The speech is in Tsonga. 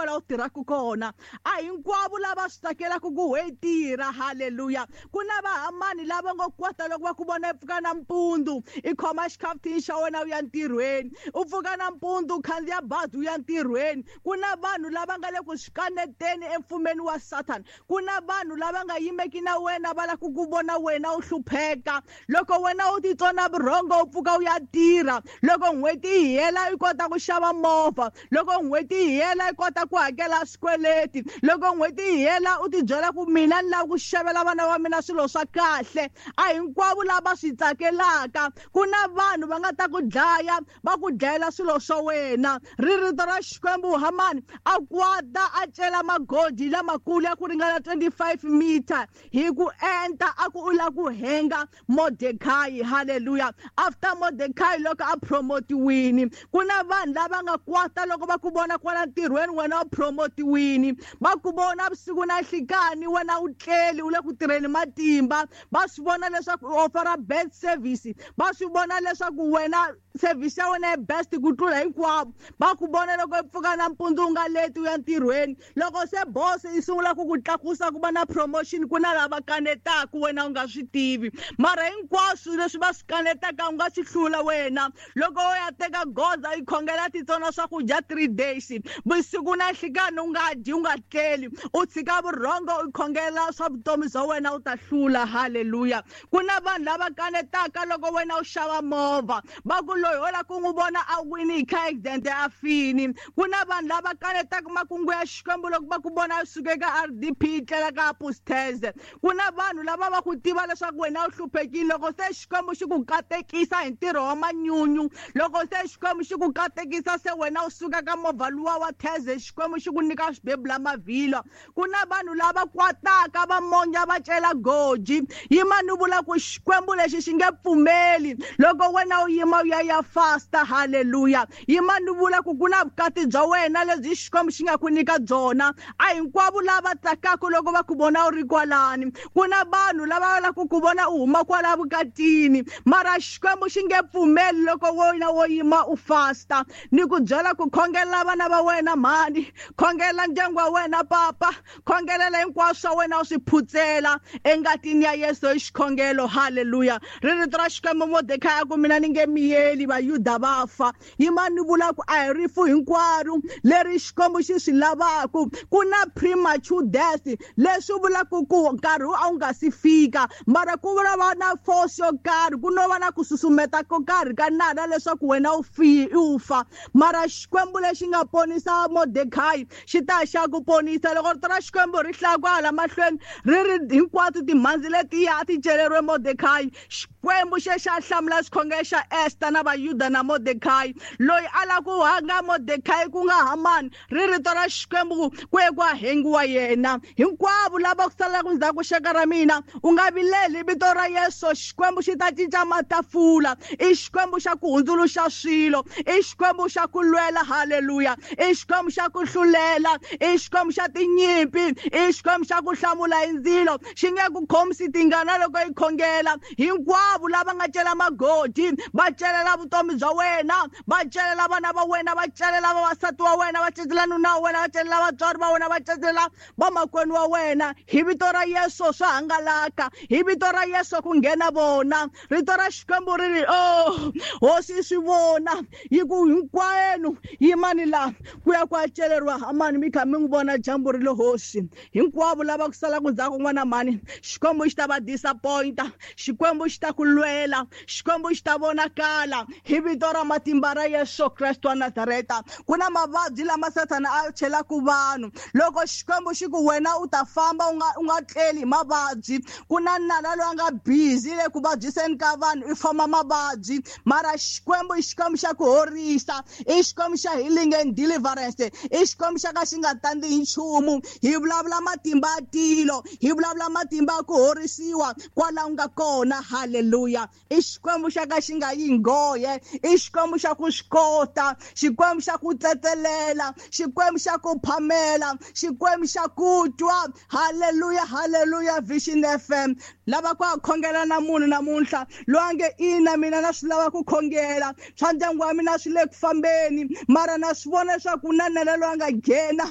kwala u tirhaka kona. A hinkwavo lava swi tsakelaka ku we tirha. Halleluya. Ku na vahamani lava ngo kwata loko va ku vona i pfuka nampundzu, i khoma xikhafuthini xa wena u ya ntirhweni, u pfuka nampundzu u khandziya bazi u ya ntirhweni. Ku na vanhu lava nga le ku swi kaneteni emfumeni wa Satan. Ku na vanhu lava nga yimeki na wena, va lava ku ku vona wena u hlupheka. Loko wena u titsona vurhongo u pfuka u ya tirha, loko n'hweti yi hela i kota ku xava movha, loko n'hweti yi hela i kota ku hakela swikweleti, loko n'hweti yi hela u tibyela ku mina ni lava ku xavela vana va mina swilo swa kahle. A hinkwavo lava swi tsakelaka. Ku na vanhu va nga ta ku dlaya, va ku dlayela swilo swa wena. Ri rito ra Xikwembu, Hamani a kwata a cela magodi lamakulu ya ku ringana 25 meter hi ku enta, a ku u lava ku henga Mordecai. Hallelujah. After Mordecai loko a promotiwini, ku na vanhu lava nga kwata loko va ku vona kwala ntirhweni wena u promotiwini, va ku vona vusiku na nhlikani wena u tleli u le ku tirheni matimba, va swi vona leswaku u offer best service, va swi vona leswaku wena service ya wena i best ku tlula hinkwavo. Va ku vona loko i pfuka nampundzu u nga leti u ya ntirhweni, loko se boss yi sungula ku ku tlakusa ku va na promotion, ku na lava kanetaka wena u nga swi tivi, mara hinkwaswo leswi va swi kanetaka u nga swi hlula wena. Loko u ya teka goza i khongela titsona swakudya 3 days, vusiku na nhlikani u nga dyi u nga tleli, u tshika vurhongo u khongela swa vutomi bya wena u ta hlula. Hallelujah. Ku na vanhu lava kanetaka loko wena u xava movha, va ku loyi ho lava ku n'wi vona a wini hi car accident a fini. Ku na vanhu lava kanetaka makungu ya Xikwembu loko va ku vona u suka eka RDP yi tlela ka Apostles. Ku na vanhu lava va ku tiva leswaku wena u hluphekile, loko se Xikwembu xi ku katekisa hi ntirho wa manyunyu, loko se Xikwembu xi ku katekisa se wena u suka ka movha luwa wa Theze, Xikwembu xi ku nyika swibebula mavhilwa. Ku na vanhu lava kwataka va monya va cela goji. Yima ni vula ku Xikwembu lexi xi nge pfumeli loko wena u yima u ya ya fasta. Hallelujah. Yima ni vula ku ku na vukati bya wena lebyi Xikwembu xi nga ku nyika byona. A hinkwavo lava tsakaka loko va ku vona u ri kwalani. Ku na vanhu lava lavaka ku vona u huma kwala vukatini, mara Xikwembu xi nge pfumeli loko wena wo yima u fasta. Ni ku byela ku khongelela vana va wena mhani, khongelela ndyangu wa wena papa, khongelela hinkwaswo swa wena u swi phutsela engatini ya Yesu hi xikhongelo. Hallelujah. Ri rito ra Xikwembu, Mordecai a ku mina ni nge miyeli Vayuda va fa. Yima ni vula ku a hi rifu hinkwaro leri Xikwembu xi swi lavaka. Ku na premature death, leswi vulaka ku nkarhi a wu nga si fika, mara ku vula va na force yo karhi, ku no va na ku susumeta ko karhi ka nala leswaku wena u fi u fa. Mara Xikwembu lexi nga ponisa Mordecai xi ta xa ku ponisa. Loko rito ra Xikwembu ri hlaya kwala mahlweni ri ri hinkwato timhandzi letiya a ti celeriwe Mordecai, Xikwembu xe xa hlamula xikhongelo xa Esther na Vayuda na Mordecai. Loyi a lava ku hanga Mordecai ku nga Hamani, ri rito ra Xikwembu ku ye ku a hengiwa yena. Hinkwavo lava ku salaka ndzhaku xaka ra mina, u nga vileli, vito ra Yesu Xikwembu xi ta cinca matafula. I Xikwembu xa ku hundzuluxa swilo, i Xikwembu xa ku lwela. Hallelujah. I Xikwembu xa ku hlulela, i Xikwembu xa tinyimpi, i Xikwembu xa ku hlamula hi ndzilo. Xi nge ku khomisi tingana loko i khongela. Hinkwavo lava nga cela magodi va celela vutomi bya wena, va celela vana va wena, va celela vavasati wa wena, va celela nuna wa wena, va celela vatswari va wena, va celela vamakwenu wa wena. Hi vito ra Yesu swa hangalaka, hi vito ra Yesu ku nghena vona. Rito ra Xikwembu ri ri, oh hosi yi swi vona, yi ku hinkwenu yimani laha ku ya ku ya celeriwa Hamani, mi kha mi n'wi vona dyambu ri le hosi. Hinkwavo lava ku salaka ndzhaku n'wana mhani, Xikwembu xi ta va disappointa, Xikwembu xi ta ku lwela, Xikwembu xi ta vonakala hi vito ra matimba ra Yesu Kreste wa Nazareta. Ku na mavabyi lama Sathana a chelaka vanhu. Loko Xikwembu xi ku wena u ta famba u nga tleli hi mavabyi, ku na nala loyi a nga busy le ku vabyiseni ka vanhu, i foma mavabyi. Mara Xikwembu i Xikwembu xa ku horisa, i Xikwembu xa healing and deliverance, i Xikwembu xa ka xi nga tandzi hi nchumu. Hi vulavula matimba ya tilo, hi vulavula matimba ya ku horisiwa kwala u nga kona. Hallelujah. I Xikwembu xa ka xi nga yi nghohe, i Xikwembu xa ku swi kota, Xikwembu xa ku tsetselela, Xikwembu xa ku phamela, Xikwembu xa ku twa. Hallelujah, hallelujah. Vision FM, lava ku khongela na munhu namuntlha loyi a nge ina mina na swi lava ku khongela, swa ndyangu wa mina swi le ku fambeni, mara na swi vona leswaku ku na nala loyi a nga nghena.